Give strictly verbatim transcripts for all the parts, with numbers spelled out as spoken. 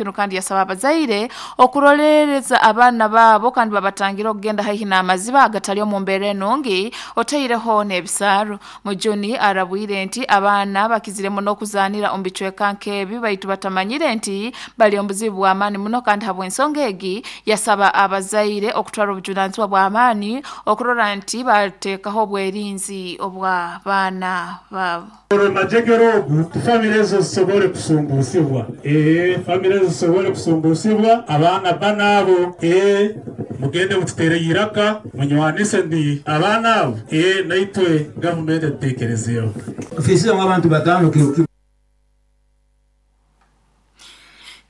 kinu kandi yasaba abazaire okurolereza abaana baabo kandi babatangira okugenda haihi n'amaziba agatali omu mbeera enungi otaireho n'ebisaaru. Mujuni arabwire nti abaana bakizire muno okuzaanira omu bicweka nk'ebi baitu batamanyire nti bali omu buzibu bw'amaani muno kandi habw'ensonga egi yasaba abazaire okutwara obujunaanizibwa bw'amaani okurora nti bateekaho obwerinzi obw'abaana baabo. Majegere ogu famire ezo zisobole kusumbusibwa, ee famire ezo zisobole kusumbusibwa abaana bana abo, ee mugende mututere iraka munywanise ndi abaana abo, ee naitwe gavumenti etutekerezeeho. Ofisi abantu batano kiro.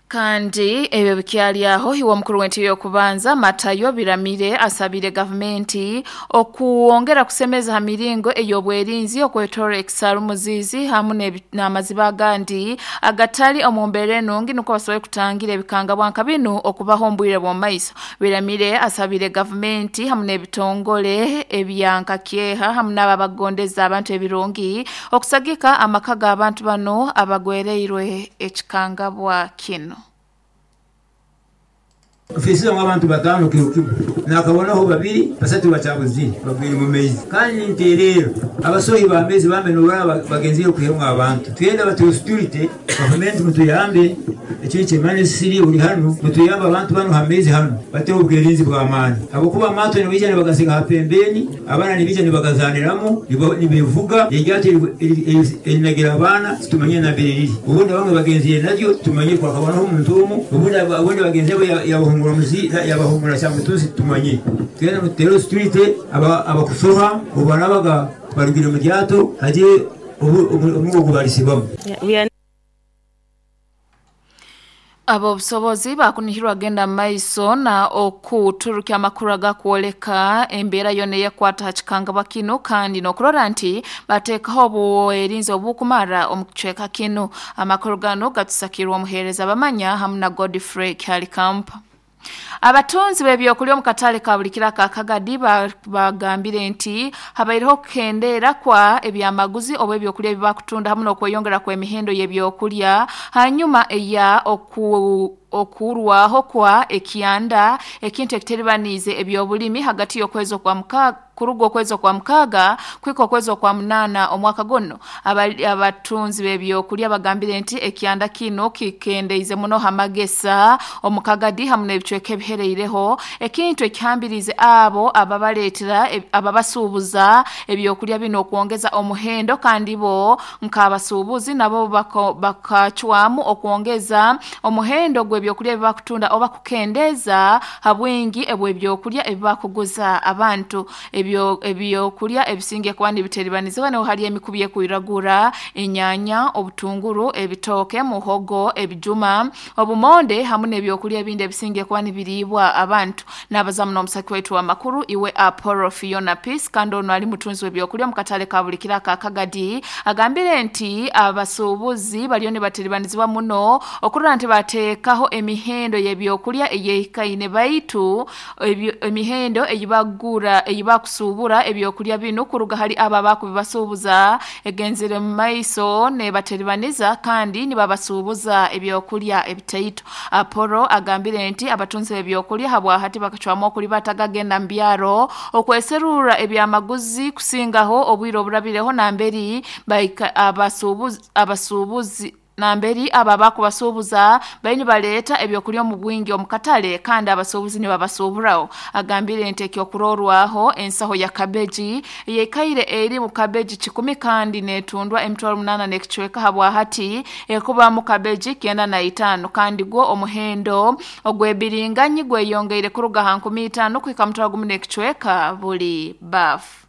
Kandi ebyo bikyali aho, iwe omukuru w'entebe y'okubanza Matayo Biramire asabire gavumenti okuwongera kusemeza ha miringo ey'obwerinzi okwetoora ekisaaru Muzizi hamu n'amaziba agandi agatali omu mbeera enungi nukwo basobole kutangira ebikangabwa nka binu okubaho omu bwire bw'omu maiso. Biramire asabire gavumenti hamu n'ebitongole ebya nkakyeha hamu n'abo abagondeza abantu ebirungi okusagika amaka g'abantu bano abagwereirwe ekikangabwa kinu. Ofisi abantu batano kiro kimu nakabonaho babiri basatu bakyabuzire bagwire mu maizi kandi nterera abasohi b'amaizi bambe nobara bagenzire kuhemwa abantu twenda batuhe security. Gavumenti mutuyambe, ekintu kyemanisiri uri hano mutuyambe abantu bano ha maizi hano bateho obwerinzi bw'amaani habwokuba amaato nibija nibagasiga ha pembeni, abaana nibija nibagazaniramu, nibevuga eryato erinagira abaana titumanyire nambere riri, obundi bamwe bagenzire naryo tumanyire kwakabonaho omuntu omu, obundi obundi bagenzi bo yabahungura muzi yabahungura kyamutuzi tumanyire. Twenda mututere security abakusoha obarabaga barugire mu ryato haje omugo gubalisibamu. Abo obusobozi bakunihirwa genda maiso na okuturukya amakuru agakwoleka embeera yonna eyekwata ha kikangabwa kinu kandi n'okurora nti bateekaho obwerinzi obukumara omu kicweka kinu. Amakuru gano gatusakirwa omuheereza Bamanya hamu na Godfrey Kyalikampa. Abatunzi b'ebyokulya omu katale ka buli kiro aka Kagadi bagambire nti habaireho okukendeera kwa ebyamaguzi oba ebyokulya ebi bakutunda hamu n'okweyongera kw'emihendo y'ebyokulya hanyuma eya oku okurwaho kwa ekyanda ekintu ekiteribaniize ebyobulimi hagati y'okwezi okwa mukaaga kuruga okwezi okwa mukaaga kwika okwezi okwa munaana omwaka guno. Abatunzi b'ebyokulya bagambire nti ekyanda kino kikendeize muno hamagesa omu Kagadi hamu n'ebicweka ebihereireho ekintu ekihambirize abo ababaleetera ababasuubuza ebyokulya bino okwongeza omuhendo kandi bo nk'abasuubuzi nabo bakacwamu okwongeza omuhendo gw'ebyokulya ebi bakutunda oba kukendeeza ha bwingi ebw'ebyokulya ebi bakuguza abantu. Ebyo ebyokulya ebisinge kuba nibiteribaniziibwa niho hari emikubi ekwiragura, enyanya, obutunguru, ebitooke, muhogo, ebijuma, obumonde hamu n'ebyokulya ebindi ebisinge kuba nibiriibwa abantu. N'abazamu n'omusaki waitu w'amakuru iwe Apollo Fiona Peace kandi ono ali mutunzi w'ebyokulya omu katale ka buli kiro aka Kagadi agambire nti abasuubuzi bariyo nibateribanizibwa muno okurora nti bateekaho emihendo y'ebyokulya eyehikaine baitu emihendo eyibagura eyibakusuubura ebyokulya bino kuruga hali abo abakubibasuubuza egenzere mu maiso nebateribaniza kandi nibabasuubuza ebyokulya ebitaito. Apollo agambire nti abatunzi b'ebyokulya habwahati bakacwamu okulibata gagenda mu byaro okweserura ebyamaguzi kusingaho obwire oburabireho namberi abasuubuzi abasuubuzi namberi aba bakubasuubuza bali baleeta ebyokulya omu bwingi omu katale kandi abasuubuzi nibabasuuburaho. Agambire nti ekyokurorwaho ensaho ya kabeji eyekaire eri mu kabeji kikumi kandi netundwa emitwaro munaana n'ekicweka habwahati ekuba mu kabeji kyenda na itaano kandi gwo omuhendo ogw'ebiringanyi gweyongeire kuruga ha nkumi itaano kuhika mutwaro gumu n'ekicweka buli bafu.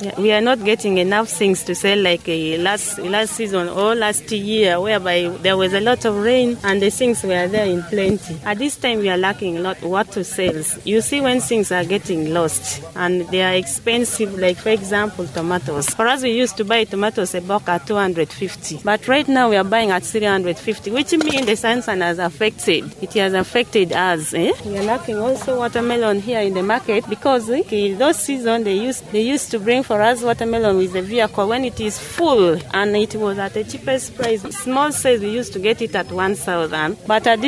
Yeah, we are not getting enough things to sell like uh, last last season or last year, whereby there was a lot of rain and the things were there in plenty. At this time, we are lacking a lot what to sell. You see, when things are getting lost and they are expensive, like for example, tomatoes. For us, we used to buy tomatoes a bulk at two hundred fifty, but right now we are buying at three hundred fifty, which means the season has affected. It has affected us. Eh? We are lacking also watermelon here in the market because eh, those season they used they used to bring for us watermelon with the vehicle when it is full, and it was at the cheapest price. Small size, we used to get it at one thousand, but at this